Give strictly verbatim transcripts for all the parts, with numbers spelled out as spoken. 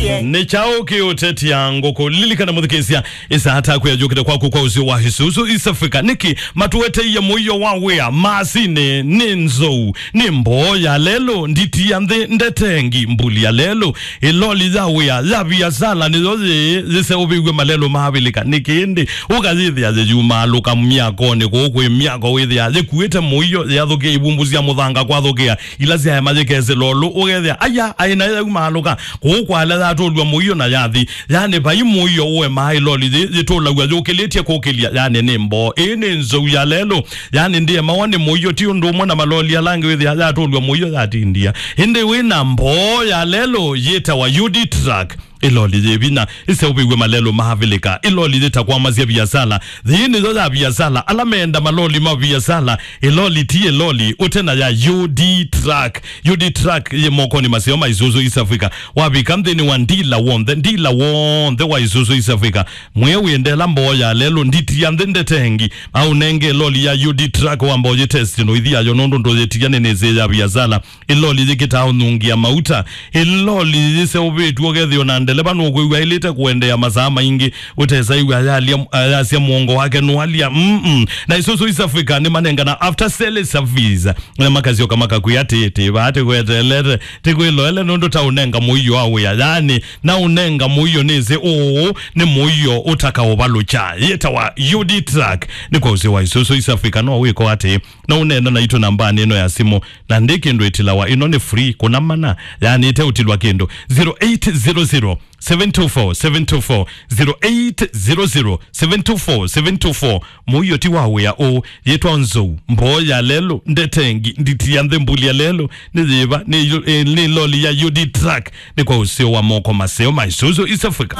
Nĩ kyaũ kĩũtetia ngũkũ? Lilikana mũthikĩĩsya, ĩsaa taku yayũkĩte kwaku kwa ũseo wa Isuzu East Africa. Nĩkĩ matũeteie mũio wa wĩa? Masinĩ nĩ nzou, nĩ mboo ya lelũ, nditi ya nthĩ ndetengi, mbuli ya lelũ, ĩloli ya wĩa ya viasala nĩyo yĩĩ yĩseũvĩw'e malelũ ma Avilika. Nĩkĩ ĩndĩ ũkayĩthĩa yĩyumaalũka myakonĩ kũu kwĩ myako, wĩthĩa yĩkuĩte mũio, yathũkĩa ivumbu sya mũthanga kwathũkĩa ila syaema yĩkesĩla ũlũ, ũkethĩa aya aĩ nayo yaumaalũka kũu kwa ala yatũlw'a mũio na yathi. Yani vai mũio ũemaa, ĩloli yĩ yĩtũlaw'a yũkĩlĩtye kũkĩlya. Yani nĩ mboo. Ĩĩ nĩ nzou ya lelũ. Yani ndĩemawa nĩ mũio, ti ũndũ ũmwe na maloli ala angĩ wĩthĩa yatũlw'a mũio yatindia. Ĩndĩ wĩ na mboo ya lelũ yĩtawa U D truck. Ĩloli yĩ vinya, ĩseũvĩw'e malelũ ma Avilika. Ĩloli yĩtakwamasya viasala. Yĩĩ nĩyo ya viasala. Ala meenda maloli ma viasala, ĩloli ti ĩloli ũte na ya U D truck. U D truck yĩ mokonĩ maseo ma Isuzu East Africa. Wavika nthĩnĩ wa ndila w'onthe, ndila w'onthe wa Isuzu East Africa, mwĩe wĩendela mboo ya lelũ, nditi ya nthĩ ndetengi, aũnenge ĩloli ya U D truck wamba ũyĩtesti na ũithi yayo, nũndũ ndũyĩtia nĩ nĩsĩ ya viasala. Ĩloli yĩkĩtaa ũnungia mauta. Ĩloli yĩseũvĩtw'e ũkethĩwa na ndeleva nũkwĩw'a aĩlĩte kũendeea masaa maingĩ ũtesaiw'a ayalya, ayasya mũongo wake nũalya. Mm-mm. Na Isuzu East Africa nĩmanengana after sale service. Na makasyoka makakwĩa atĩĩ, "Tĩ vaa tĩkweteelete, tĩkwĩloele nũndũ taũnenga mũio wa wĩa." Yani, na ũnenga mũio nĩsĩ ũũ nĩ mũio ũtakaũvalũkya. Yĩtawa U D truck. Nĩ kwa ũseo wa Isuzu East Africa, no wĩko atĩĩ, na ũneena naitũ nambanĩ ĩno ya simũ. Na ndĩ kĩndũ ĩtilawa, ĩno nĩ free, kũna mana, yani ĩteũtilwa kĩndũ. Zero eight zero zero, seven two four, seven two four, zero eight zero zero, seven two four, seven two four. Mũio ti wa wĩa ũũ, yĩtwa nzou, mboo ya lelũ, ndetengi, nditi ya nthĩ, mbuli ya lelũ, nĩ yĩva, nĩ yu-, eh, nĩ loli ya U D truck, nĩ kwa ũseo wa moko maseo ma Isuzu East Africa.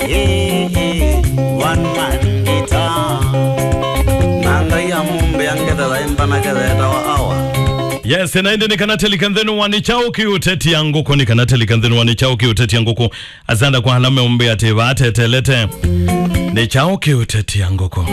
Hey, hey, one man guitar. Na Ngai amũmbĩa ngetha yaimba na ketha etawa awa. Yes, na ĩndĩ nĩ kana telika nthĩnĩ wa nĩ kyaũ kĩũtetia ngũkũ, nĩ kana telika nthĩnĩ wa nĩ kyaũ kĩũtetia ngũkũ. Asanda kwa ala meũmbĩa atĩ vaatetelete. Nĩ kyaũ kĩũtetia ngũkũ?